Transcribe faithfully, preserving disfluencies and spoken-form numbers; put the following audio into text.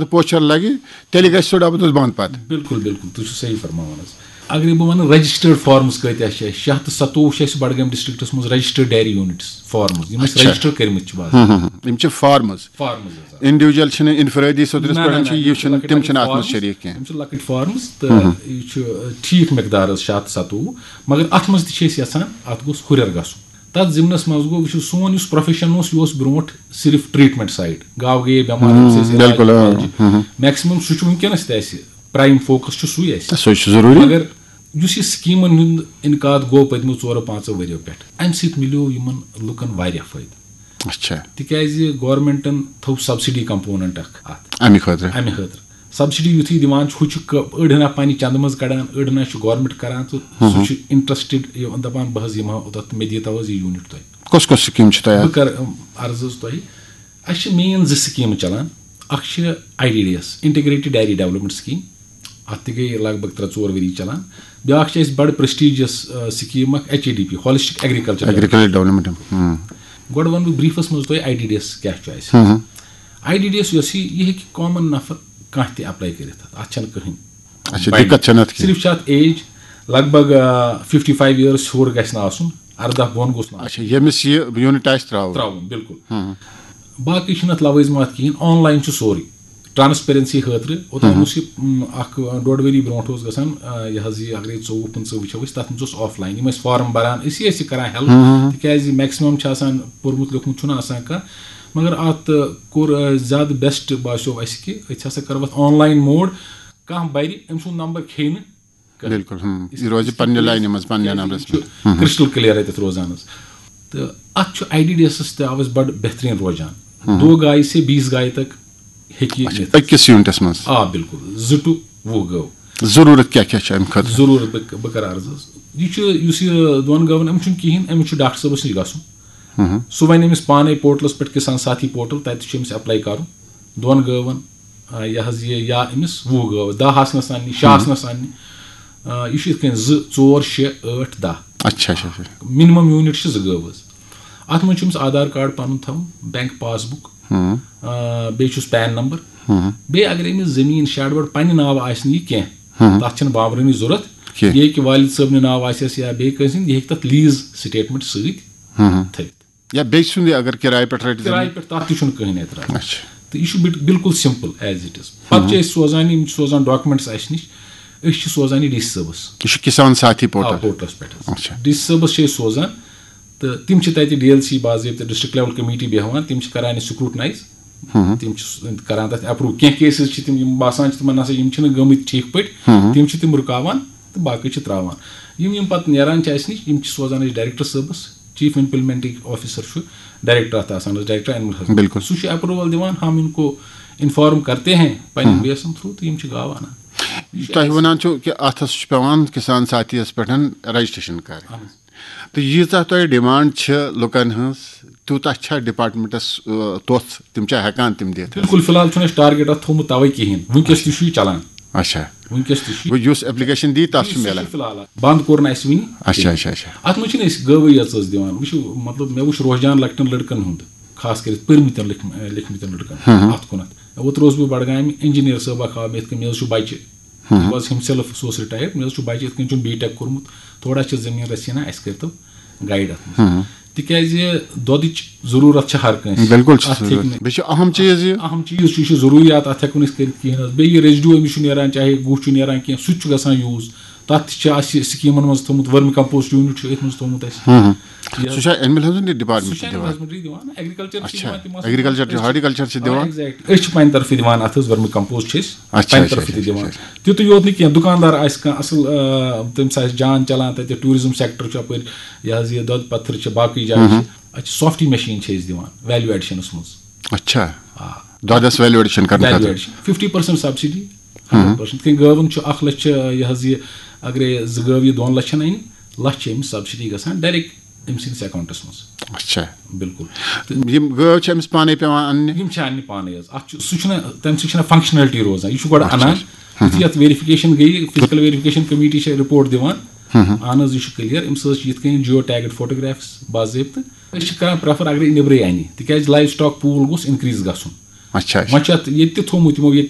پوچھر لگہِ، تیٚلہِ گژھِ سُہ ڈبہٕ دُس بنٛد پتہٕ۔ بِلکُل، بِلکُل، تُہۍ چھِو صحیح فرماوان حظ۔ اگر بہٕ وَنہٕ، رجسٹرڈ فارمز کۭتیٛاہ چھِ اَسہِ؟ شےٚ ہَتھ تہٕ ستووُہ چھِ اَسہِ بڈگٲمۍ ڈسٹرکٹس منٛز رجسٹرڈ ڈیری یوٗنٹس، فارمز، یِم اَسہِ اچھا۔ رجسٹر کٔرمٕتۍ چھِ باضٲبطہٕ۔ یِم چھِ فارمز۔ فارمز حظ، آ۔ انڈیویجل چھِنہٕ، انفرٲدی سۄ ترٛس نہ، پٮ۪ٹھ نہ، چھِ، نہ، یہِ یِم چھِ چھِنہٕ، لۄکٕٹۍ تِم لۄکٕٹۍ چھِنہٕ اَتھ منٛز فارمز، شریٖک کینٛہہ۔ یِم چھِ لۄکٕٹۍ فارمز تہٕ یہِ چھُ، آ، ٹھیٖک مقدار حظ، شےٚ ہَتھ تہٕ ستووُہ۔ مگر اَتھ منٛز تہِ چھِ أسۍ یَژھان اَتھ گوٚژھ ہُرٮ۪ر گژھُن۔ تَتھ ضِمنَس منٛز گوٚو، وٕچھِو، سون یُس پروفیشن اوس، یہِ اوس برونٛٹھ صرف ٹریٹمنٹ سایڈ، گاو گٔیے بٮ۪مار، ہُم، أمِس ٲسۍ علاج بِلکُل، آ۔ میکسِمم سُہ چھُ وٕنکیٚنَس تہِ اَسہِ، پرٛایم فوکس چھُ سُے اَسہِ۔ سُہ چھُ ضروٗری۔ مگر یُس یہِ سکیٖمن ہُنٛد انعقاد گوٚو پٔتمیو ژورو پانٛژو ؤرۍیو پٮ۪ٹھ، اَمہِ سۭتۍ مِلیو یِمن لُکن واریاہ فٲیدٕ۔ اچھا۔ تِکیازِ گورنمنٹن تھوٚو سبسڈی کمپوننٹ اکھ اتھ۔ اَمہِ خٲطرٕ۔ اَمہِ خٲطرٕ سبسڈی یُتھُے دِوان چھُ، ہُہ چھُ ک-، أڑ ہنا پننہِ چندٕ منٛز کڑان، أڑ ہنا چھُ گورنمنٹ کران، تہٕ سُہ چھُ انٹرسٹڈ، یہِ دپان، بہٕ حظ یِمہٕ ہا اوٚتتھ، مےٚ دِیو حظ یہِ یوٗنٹ تُہۍ۔ کۄس کۄس سکیٖم چھِ تۄہہِ بہٕ اَتھ؟ کرٕ، أم، عرض حظ تۄہہِ، اَسہِ چھِ مین زٕ سکیٖمہٕ چلان۔ اکھ چھِ I D D S, integrated dairy development scheme, اتھ تہِ گٔے لگ بگ ترٛےٚ ژور ؤری چلان۔ بیاکھ چھِ اَسہِ بڑٕ پرسٹیجس، آ، سکیٖم اکھ، H A D P, holistic agriculture. Agriculture development. Hmm. گۄڈٕ وَنہٕ بہٕ بریٖفَس منٛز تۄہہِ آی ڈی ڈی ایس کیٛاہ چھُ اَسہِ۔ آی ڈی ڈی ایس یۄس یہِ، یہِ ہیٚکہِ کامن نفر کانٛہہ تہِ اپلاے کٔرِتھ، اَتھ چھَنہٕ کٕہٕنۍ۔ اچھا، بڑِ۔ دِقت چھَنہٕ اَتھ کِہیٖنۍ۔ صرف چھِ اَتھ ایج لگ بگ، آ، ففٹی فایو ایئرس ہیوٚر گژھِ نہٕ آسُن، ارداہ بۄن گوٚژھ نہٕ آسُن۔ اچھا، ییٚمِس یہِ یوٗنٹ آسہِ ترٛاوُن۔ ترٛاوُن، بِلکُل۔ باقٕے چھُنہٕ اَتھ لوٲزمات کِہیٖنۍ، آن لاین چھُ سورُے۔ ٹرانسپیرنسی خٲطرٕ اوٚتام اوس یہِ، م، اکھ، آ، ڈۄڈ ؤری برونٛٹھ اوس گژھان، آ، یہِ حظ یہِ اگرے ژوٚوُہ پٕنٛژٕہ وٕچھو أسۍ، تَتھ منٛز اوس آف لاین، یِم ٲسۍ فارم بَران، أسی ٲسۍ یہِ کَران ہیلپ، تِکیٛازِ میکسِمَم چھِ آسان پوٚرمُت لیوٚکھمُت چھُنہٕ آسان کانٛہہ، مگر اَتھ، آ، کوٚر، آ، زیادٕ بیسٹ باسیو اَسہِ کہِ أسۍ ہسا کَرو اَتھ آن لاین موڈ، کانٛہہ بَرِ، أمۍ سُنٛد نمبر کھیٚیہِ نہٕ کانٛہہ۔ بِلکُل، ہُم، یہِ روزِ پننہِ لاینہِ منٛز، پننہِ نمبرَس چھُ کرسٹل کلیئر اَتٮ۪تھ روزان حظ۔ تہٕ اَتھ چھُ آی ڈی ڈی ایسَس تہِ آو اَسہِ بَڑٕ بہتریٖن روزان۔ دو گاے سے بیس گاے تک ہیٚکہِ یہِ اچھا، نِتھ۔ أکِس یوٗنٹَس منٛز۔ آ، بِلکُل، زٕ ٹُو وُہ گٲو۔ ضروٗرت کیٛاہ کیٛاہ چھِ اَمہِ خٲطرٕ؟ ضروٗرت بہٕ، بہٕ کَرٕ عرض حظ۔ یہِ چھُ، یُس یہِ دۄن گٲوَن، أمِس چھُنہٕ کِہیٖنۍ، أمِس چھُ ڈاکٹر صٲبَس نِش گژھُن۔ سُہ وَنہِ أمِس پانَے پورٹلَس پٮ۪ٹھ، کِسان ساتھی پورٹل، تَتہِ چھُ أمِس اپلاے کَرُن۔ دۄن گٲوَن، آ، یہِ حظ یہِ، یا أمِس وُہ گٲو، دَہ آسنَس اَننہِ، شےٚ آسنَس اَننہِ۔ آ، یہِ چھُ یِتھ کٔنۍ زٕ، ژور، شےٚ، ٲٹھ، دَہ۔ اچھا، اچھا، اچھا۔ مِنِمَم یوٗنِٹ چھِ زٕ گٲو حظ۔ اَتھ منٛز چھُ أمِس آدھار کارڈ پَنُن تھاوُن، بینک پاس بُک، آ، بیٚیہِ چھُس پین نمبر، بیٚیہِ اگر أمِس زٔمیٖن شیڈ ویڈ پننہِ ناوٕ آسہِ نہٕ یہِ کینٛہہ، تَتھ چھَنہٕ بامبرٕنی ضوٚرَتھ۔ کینٛہہ۔ یہِ ہیٚکہِ والد صٲبنہِ ناوٕ آسٮ۪س یا بیٚیہِ کٲنٛسہِ ہِنٛدۍ، یہِ ہیٚکہِ تَتھ لیٖز سٹیٹمنٹ سۭتۍ تھٲوِتھ۔ یا بیٚیہِ سُنٛد یہِ اگر کِراے پٮ۪ٹھ رَٹہِ زٔمیٖن؟ کِراے پٮ۪ٹھ تَتھ تہِ چھُنہٕ کٕہٕنۍ اعتراض۔ اچھا۔ تہٕ یہِ چھُ بِل-، بِلکُل سِمپٕل ایز اِٹ اِز۔ پَتہٕ چھِ أسۍ سوزان، یِم چھِ سوزان ڈاکومٮ۪نٹٕس اَسہِ نِش، أسۍ چھِ سوزان یہِ ڈی سی صٲبَس۔ یہِ چھُ کِسان ساتھی آ، پورٹل۔ پورٹلَس پٮ۪ٹھ حظ۔ اچھا۔ ڈی سی صٲبَس چھِ أسۍ سوزان تہٕ تِم چھِ تَتہِ ڈی ایل سی باضٲبطہٕ ڈسٹرکٹ لیول کمیٹی بیٚہوان، تِم چھِ کَران یہِ سکروٹنائز، تِم چھِ س-، کَران تَتھ اپروو۔ کینٛہہ کیسز چھِ تِم، یِم باسان چھِ تِمَن نہ سا یِم چھِنہٕ گٔمٕتۍ ٹھیٖک پٲٹھۍ، تِم چھِ تِم رُکاوان تہٕ باقٕے چھِ ترٛاوان۔ یِم یِم پَتہٕ نیران چھِ اَسہِ نِش، یِم چھِ سوزان أسۍ ڈائریکٹر صٲبَس، چیف امپلیمنٹنگ آفیسر چھُ، ڈائریکٹر اَتھ آسان حظ، ڈائریکٹر اینیمل ہسبنڈری۔ بِلکُل۔ سُہ چھُ اپروول دِوان، ہم ان کو انفارم کرتے ہیں پننٮ۪ن بیسن تھرو، تہٕ یِم چھِ گاو اَنان۔ تۄہہِ وَنان چھُو کہِ اَتھَس چھُ پٮ۪وان کِسان ساتھیَس پٮ۪ٹھ رجسٹریشن کَرٕنۍ۔ تہٕ ییٖژاہ تۄہہِ ڈِمانڈ چھِ لُکَن ہٕنٛز، تیوٗتاہ چھا ڈپارٹمنٹَس، آ، توٚژھ، تِم چھا ہٮ۪کان تِم دِتھ؟ بِلکُل، فی الحال چھُنہٕ اَسہِ ٹارگیٹ اَتھ تھوٚومُت تَوَے کِہیٖنۍ، وٕنکیٚس تہِ چھُ یہِ چلان۔ اچھا۔ وٕنکیٚس تہِ چھُ یہِ۔ گوٚو یُس ایپلیکیشن دی، تَتھ چھُ سُہ چھُ میلان۔ فی الحال اَتھ۔ بنٛد کوٚر نہٕ اَسہِ وٕنہِ۔ اچھا، اچھا، اچھا۔ اَتھ منٛز چھِنہٕ أسۍ گٲوٕے یٲژ حظ دِوان۔ وٕچھِو، مطلب، مےٚ وٕچھ رُحجان لۄکٹٮ۪ن لٔڑکَن ہُنٛد، خاص کٔرِتھ پٔرمٕتٮ۪ن لیکھ-، لیکھمٕتٮ۪ن لٔڑکَن اَتھ کُنَتھ۔ اوترٕ اوسُس بہٕ بڈگامہِ، انجینئر صٲب اَکھ آو مےٚ یِتھ کٔنۍ، مےٚ حظ چھُ بَچہِ، بہٕ حظ ہِم سیلف سُہ اوس رِٹایَر، مےٚ حظ چھُ بَچہِ یِتھ کٔنۍ چھُم بی ٹیک کوٚرمُت، تھوڑا چھِ زٔمیٖن رَژھِ ہنا، اَسہِ کٔرۍتو گایڈ اَتھ منٛز۔ تِکیٛازِ دۄدٕچ ضروٗرت چھِ ہر کٲنٛسہِ۔ بِلکُل چھِ اَتھ ہیٚکہِ ضروٗرت۔ نہٕ بیٚیہِ چھُ اہم چیٖز یہِ۔ اہم چیٖز چھُ، یہِ چھُ ضروٗریات، اَتھ ہٮ۪کو نہٕ أسۍ کٔرِتھ کِہیٖنۍ حظ۔ بیٚیہِ یہِ ریزڈیو أمِس چھُ نیران، چاہے گُہہ چھُ نیران کینٛہہ، سُہ تہِ چھُ گژھان یوٗز۔ تَتھ تہِ چھِ اَسہِ سکیٖمَن منٛز تھوٚمُت، ؤرمی کمپوسٹ یوٗنٹ چھُ أتھۍ منٛز تھوٚمُت اَسہِ۔ یہِ حظ، سُہ چھا اینیمل ہسبنڈری سُہ ڈپارٹمنٹ چھُ دِوان؟ اینیمل ہسبنڈری دِوان، ایگریکلچر چھِ اچھا، دِوان تِم حظ۔ ایگریکلچر چھُ، أسۍ چھِ، ہارٹیکلچر چھِ آ، دِوان؟ exact۔ أسۍ چھِ پننہِ طرفہٕ دِوان اَتھ حظ ؤرمی کمپوسٹ چھِ أسۍ اچھا، پننہِ اچھا، طرفہٕ تہِ اچھا، دِوان۔ اچھا۔ تیُتُے یوت نہٕ کینٛہہ، دُکاندار آسہِ کانٛہہ اَصٕل، آ، تٔمِس آسہِ جان چلان تَتہِ، ٹوٗرِزم سیکٹر چھُ اَپٲرۍ، یہِ حظ یہِ دۄد پتھر چھِ، باقٕے جایہِ چھِ۔ اَتہِ چھِ سافٹی مشیٖن چھِ أسۍ دِوان ویلیو ایڈیشنَس منٛز۔ اچھا۔ آ۔ دۄدَس ویلیو ایڈیشن کرنہٕ ویلیو خٲطرٕ۔ Addition fifty percent subsidy, hundred percent. کِنہٕ گٲوَن چھُ اَکھ لَچھ چھِ، یہِ حظ یہِ، اگرے زٕ گٲو یہِ دۄن لَچھَن اَنہِ، لَچھ چھِ أمِس سبسڈی گژھان ڈائریکٹ أمۍ سٕنٛدِس اکاؤنٹَس منٛز۔ اچھا۔ بِلکُل۔ تہٕ یِم گٲو چھِ أمِس پانَے پٮ۪وان اَننہِ؟ یِم چھِ اَننہِ پانَے حظ۔ اَتھ چھُ، سُہ چھُنہٕ، تَمہِ سۭتۍ چھِنہٕ فنکشنلٹی روزان۔ یہِ چھُ گۄڈٕ اچھا، اَنان، اچھا۔ یُتھُے اَتھ ویریفِکیشن گٔیہِ، فزیکل ویریفِکیشن کمیٹی چھِ رپورٹ دِوان، اہن حظ، یہِ چھُ کلیئر۔ أمِس حظ چھِ یِتھ کٔنۍ جیو ٹیگڈ فوٹوگرافس باضٲبطہٕ۔ أسۍ چھِ کران پریفر اگرے نیبرٕے اَنہِ، تِکیازِ لایو سٹاک پوٗل گوٚژھ انکریز گژھُن۔ اچھا، اچھا۔ وۄنۍ چھُ اَتھ ییٚتہِ تہِ تھوٚومُت یِمو، ییٚتہِ